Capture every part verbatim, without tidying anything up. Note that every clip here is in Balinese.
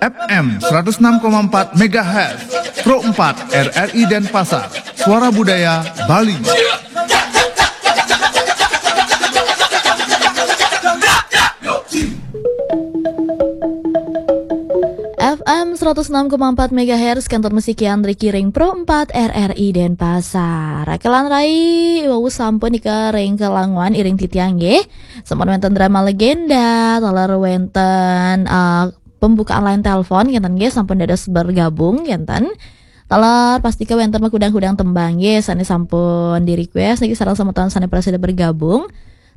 F M seratus enam koma empat megahertz, Pro empat R R I Denpasar, Suara Budaya Bali. F M seratus enam koma empat megahertz, kantor musik Yandri Kiring Pro empat R R I Denpasar. Rakelan rai, wau sampun nika ring kelanguan iring titiang nggih. Sampun wenten drama legenda, taler wenten eh, pembukaan line telepon ngenten nggih, sampun dados bergabung ngenten. Taler pastika wenten makudang-kudang tembang nggih sane sampun di request niki sareng semeton sane prasida bergabung.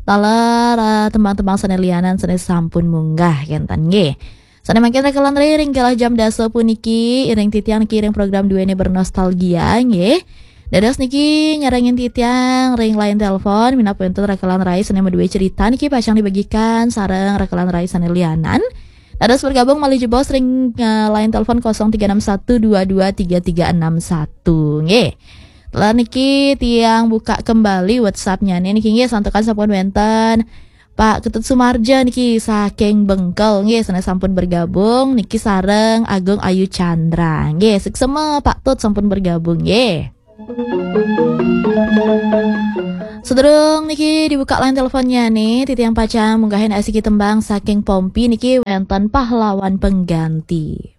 Taler eh, tembang-tembang sane lianan sane sampun munggah ngenten nggih. Sane mangkin rakelan rai ring galah jam dasa puniki iring titiang niki ring program duene bernostalgia nggih. Dados niki nyarengin titiang ring line telepon minab wenten rakelan rai sane madue cerita niki pacang dibagikan sareng rakelan rai sane lianan. Dados bergabung malih jebos ring eh, line telepon kosong tiga enam satu dua dua tiga tiga enam satu nggih. Taler niki tiang buka kembali WhatsApp-nya nih niki nggih santukan sampun wenten Pak Ketut Sumarja niki saking Bengkel nggih sane sampun bergabung niki sareng Agung Ayu Chandra nggih. Suksema Pak Tut sampun bergabung nggih. Sedurung niki dibuka line teleponnya nih, titiang pacang munggahin asiki tembang saking Pompi niki wenten pahlawan pengganti.